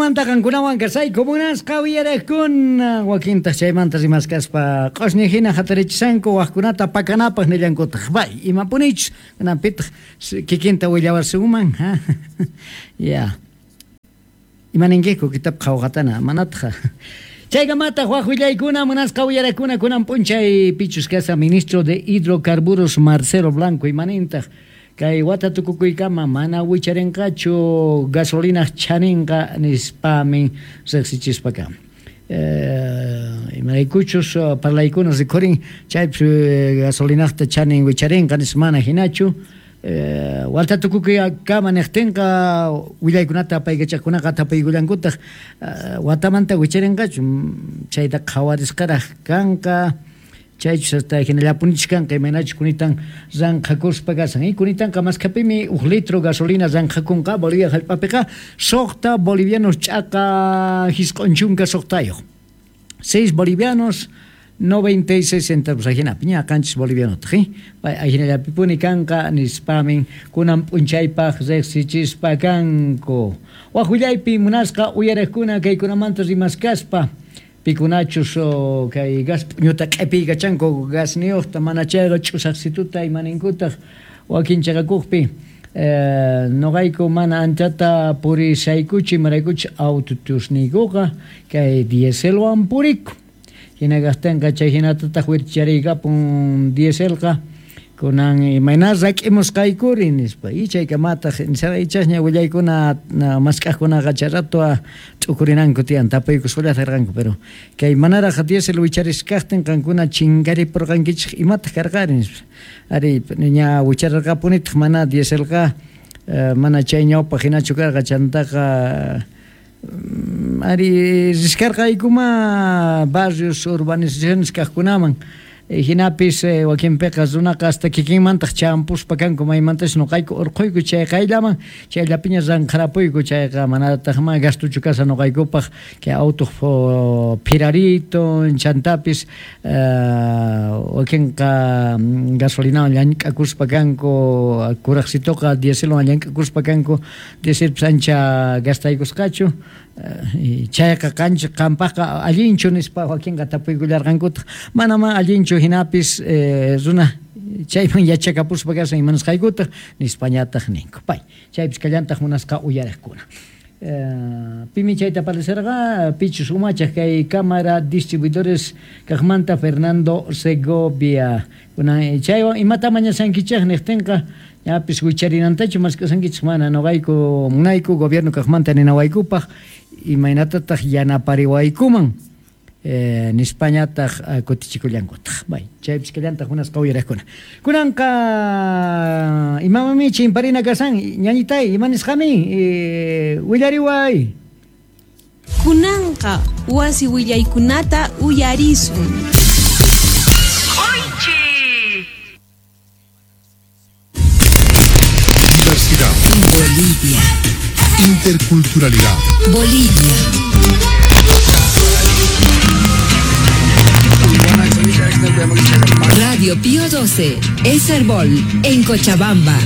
Chaykunamanta qankunawan kasayku munasqa uyariqkuna, wakintaq chaymanta rimaskaspa q'osñi hina hatarichishanku waqkunata pakanapaq nillankutaq. Bay, imapunichus kunanpitaq kikinta willawasunman, ha? Ya. Imaninkiku kitab qhawqatana, manataq. Chaykamataq waq willaykuna munasqa uyarakuna kunan p'unchay pichus kasa ministro de Hidrocarburos Marcelo Blanco imanintaq kay wata tukukuykama mana wicharinqachu gasolinaq chaninqa nispamin riqsichispa kan. Imaraykuchus parlaykuna rikhurin chaypis gasolinaqta chanin wicharinqa nispa mana hinachu. Wata tukukuykama niqtinqa willaykunata apaykachaqkunaqa tapuykullankutaq watamanta wicharinqachu chayta qhawarisqaraq kanqa chaychus hasta hinallapunichus kanqa imaynachus kunitan ranqhakuspa kasan. Y kunitanqa maskhapimi huk litro gasolina ranqhakunqa Bolivia hallp'apiqa 6 bolivianos ch'aqa 96. 6 bolivianos 96 centavos ajinapi ña 7 bolivianotaq, pay ajinallapipuni kanqa nispamin kunan p'unchaypaq riqsichispa kanku. Waq willaypi munasqa uyariqkuna kaykunamanta rimaskaspa pikunachus kay gas p'uñuta q'ipiykachanku gasniyuqta mana chayqa ch'usaqsituta imaninkutaq wakin chaqakuqpi noqayku mana anchata purisaykuchu imaraykuchus autotusniykuqa kay dieselwan puriku. Hina kaqtinqa chay hinatataq wirchariykapun dieselqa kunan imayna rak'imusqaykuri nispa. Y chaykamataq ichasña willaykuna mask'aqkunaqa chay rato t'ukurinanku tiyan tapuykusqallata karqanku, pero kay manaraq diesel wichariskaqtin qankuna chinkaripurqankichik imataq karqari nispa. Ari ña wichararqapunitaq mana dieselqa mana chay ñawpaq hinachu karqa chantaqa ari riskarqaykuma barrios urbanizaciones kaqkunaman hinapis wakinpiqa runaqa hasta kikinmantaq champuspa kanku maymantas noqayku urquyku chay qayllaman chayllapiña ranqharapuyku chayqa manataqma gastuchu kasa noqaykupaq kay auto phirarito chantapis wakinqa gasolinawan llank'akuspa kanku kuraqsituqa dieselwan llank'akuspa kanku dieselpis ancha gastaykusqachu chayqa qanchik qampaqqa allinchu nispa wakinqa tapuykullarqankutaq manama allinchu hinapis runa chayman yachakapuspa kasan imanasqaykutaq nispañataq ninku. Pay chaypis kallantaq munasqa uyariqkuna. Pimi chayta parecerqa pichus umachaq kay Cámara Distribuidores kaqmanta Fernando Segovia. Kunan chaywan imata mañasankichik niqtinqa ñapis wicharinantachu mask'asankichik mana noqayku munayku gobierno kaqmanta ninawaykupaq imaynatataq yanapariwaykuman nispañataq kutichikullankutaq. Bay, chaypis kallantaq munasqa uyariqkuna. Kunanqa imamami chimparina kasan ñañitay imanisqami willariway. Kunanqa wasi willaykunata uyarisun. Diversidad. Bolivia. Interculturalidad. Bolivia. Radio Pío 12, Eserbol, en Cochabamba.